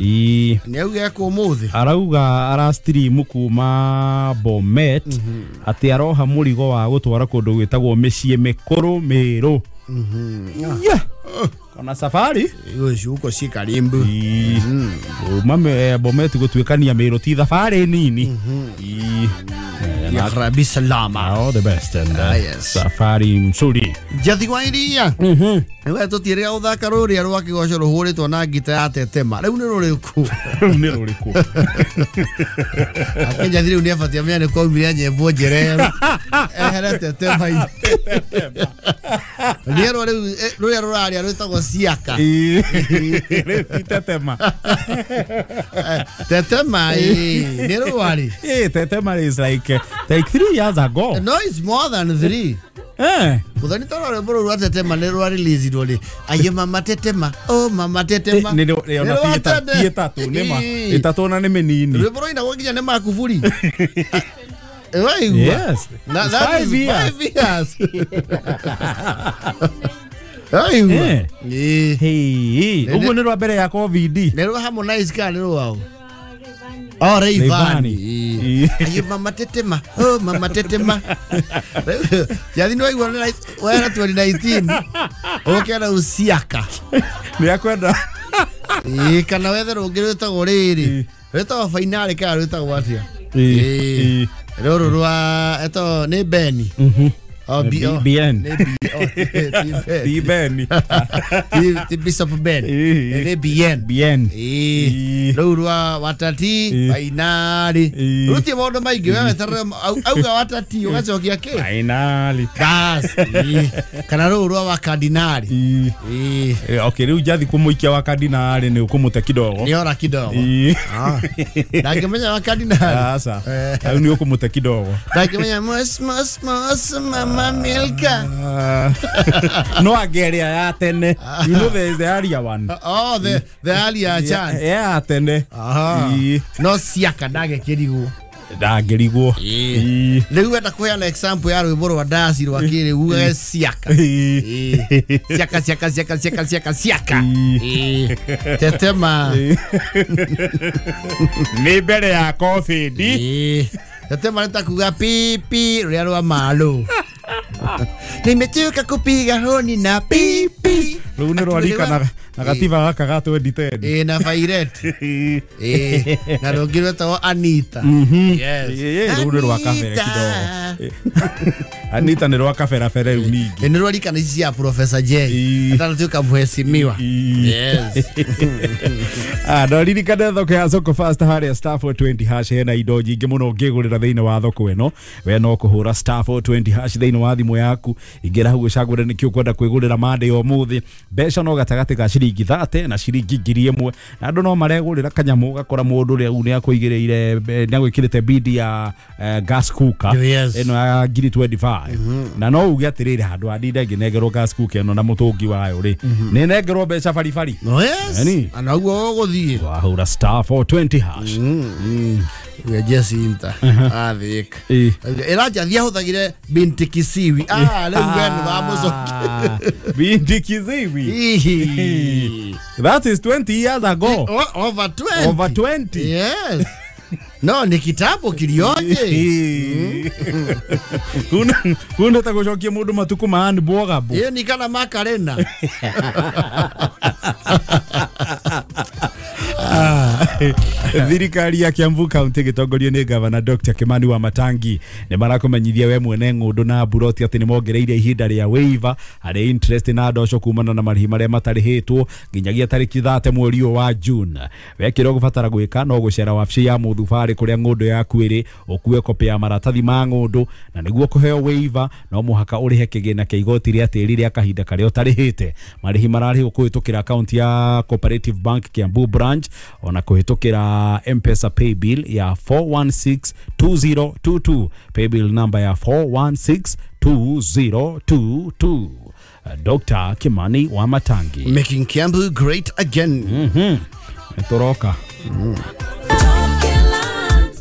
Ii. Nĩ auga ekwo ũmũthĩ. Arauga ara stream kuma Bomet atĩ aroha mũrigo wa gũtwara kũndũ gwĩtagwo mĩciĩ mĩkũrũ Mĩrũ. Yeah. Kona safari Gũcuko ci karimbu. Ii. Kuma Bomet gũtuĩkania Mĩrũ ti thabarĩ nini. Ii. Ya Rabbi salama. All the best and yes. Safari mzuri. Njathi wa iria. Nĩwe tũtiĩrĩga gũthaka rũrĩa rwa kĩgoco rũhũrĩtwo na ngita ya tetema. Rĩu nĩ rũrĩkũ? Rĩu nĩ rũrĩkũ? Ake Njathi rĩu nĩabatie amenye nĩ kwaumire nyĩmbo njereru. Ehere tetema-inĩ. Nĩerwo rĩu rũrĩa rũraria rwĩtagwo Siaka. Ii. Rĩu ti tetema. Tetema ĩĩ nĩ rwarĩ. Tetema is like 3 years ago. No, it's more than 3. Eh. Muthoni toro rwĩmbo rũu rwa tetema nĩ rwa release rĩ. Aye mama tetema, oh mama tetema. Nĩ ona ti ĩtatũ nĩ ma. Ĩtatũ na nĩ mĩnini. Rwĩmbo rũinagwo nginya nĩ Makuburi. Waigua? Yes. Na, It's that 5 is years. 5 years. Waigua? Eh. Ĩĩ. Hey, ũguo nĩ rwa mbere ya COVID. Nĩ rwa Harmonize kana nĩ rwao? Oh, Rayvanny. Rayvanny. Aye mama tetema, oh mama tetema. Jathi nĩ waigua nĩ wera 2019. Ũkera uciaka. Nĩ akwenda. Ĩĩ kana wethe rũngĩ rwĩtagwo rĩrĩ. Rwĩtagwo finale kana rwĩtagwo atĩa? Ĩĩ. Rũrũ rwa etagwo nĩ Beni. Oh, B, oh, BN. Nĩ B, oh, ti Ben. Ti Beni. Ti Bishop Ben. Ĩĩ. Nĩ BN. BN. Ĩĩ. Rũu rwa watati fainali. Ĩĩ. Rũtie maũndũ maingĩ we weterere auga watati ũgacokia kĩ? Finally. Bas. Ĩĩ. Kana rũu rwa wakardinali. Ĩĩ. Ĩĩ. Okay, rĩu Njathi kũmũikia wa kardinali nĩ ũkũmũte kidogo. Nĩ ora kidogo. Ĩĩ. Ndangĩmenya wakardinali. Aca. Rĩu nĩ ũkũmũte kidogo. Ndangĩmenya mos mos mos mama Milka. No angeria ya tene. You know there is the earlier one. Oh, the earlier chant. Ya tene. Aha. Ĩĩ. No Siaka ndagĩkĩrigwo. Ndangĩrigwo. Ĩĩ. Rĩu wenda kũheana example ya rwĩmbo rwa ndaci rwa kĩrĩu ugage Siaka. Ĩĩ. Siaka siaka siaka siaka siaka siaka. Ĩĩ. Ĩĩ. Tetema. Nĩ mbere ya COVID. Ĩĩ. Tetema nĩ ta kuga pipi rũrĩa rwa Malo. Nimechoka kupiga honi na pipi. Rĩu nĩ rwarika na gatiba gaka ga 2010. Ĩĩ na Violet. Ĩĩ. Na rũngĩ rwĩtagwo Anita. Yes. Ĩĩ, rũu nĩ rwa kabere kidogo. Anita nĩ rwa kaberabere rĩu ningĩ. Nĩ rwarika na ici cia Professor J. Ĩĩ. Atanatuĩka mheshimiwa. Yes. No ririkane thoko ya Soko Fast harĩa star 420 hash hena indo nyingĩ mũno ũngĩgũrĩra thĩinĩ wa thoko ĩno. We no kũhũra star 420 hash thĩinĩ wa thimũ yaku. Ingĩra hau ũcagũre nĩkĩ ũkwenda kwĩgũrĩra Monday ũmũthĩ. Mbeca no gatagatĩ ga ciringi 30 na ciringi 1000. Na andũ no maregũrĩra kanyamũ ũgakora mũndũ rĩu nĩ akũigĩrĩire nĩ agwĩkĩrĩte bidi ya gas cooker Yes. ĩno ya 2025. Na no uge atĩrĩrĩ handũ handinde ngĩnengerwo gas cooker ĩno na mũtũngi wayo rĩ nĩ nengerwo mbeca baribari. No yes. Yaani? Ana ũguo ũgũthiĩ. Wahũra star 420 hash. Uya Jacinta. Athĩka. Ĩĩ. Ĩra Njathi ahũthagĩre binti Kisiwi. Ah, rĩu we nĩ wamũcokia. Binti Kisiwi. Ihi. That is 20 years ago. Over 20. Over 20. Yes. No, ni kitambo kilioje. Kuna ta gũcokia mũndũ matukũ ma Ann Bwogabo. Iyo ni kana Makarena. Thirikari ya Kiambu County gĩtongorio nĩ Governor Dr. Kimani wa Matangi nĩ marakũmenyithia we mwene ng'ũndũ na mburoti atĩ nĩ mongereire ihinda rĩa waiver harĩ interest na ndoco kumana na marĩhi marĩa matarĩhĩtwo nginyagia tarĩki 30 mweri ũyũ wa June. We kĩrĩa ũgũbatara gwĩka no gũcera wabici ya mũthubarĩ kũrĩa ng'ũndũ yaku ĩrĩ ũkue kopĩ ya maratathi ma ng'ũndũ na nĩguo kũheo waiver no mũhaka ũrĩhe kĩgĩna kĩa igoti rĩa tĩri rĩa kahinda karĩa ũtarĩhĩte. Marĩhi mararĩhwo kũhĩtũkĩra akaunti ya Cooperative Bank Kiambu branch ona kũhĩtũkĩra M-Pesa paybill ya 4162022, paybill number ya 4162022. Dr. Kimani wa Matangi, Making Kiambu great again. Toroka.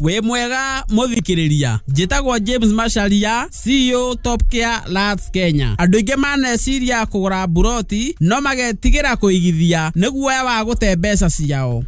Wĩ mwega mũthikĩrĩria, njĩtagwo James Macharia, CEO Top Care Lands Kenya. Andũ aingĩ maneciria kũgũra mburoti no magetigĩra kũigithia nĩ guoya wa gũte mbeca ciao.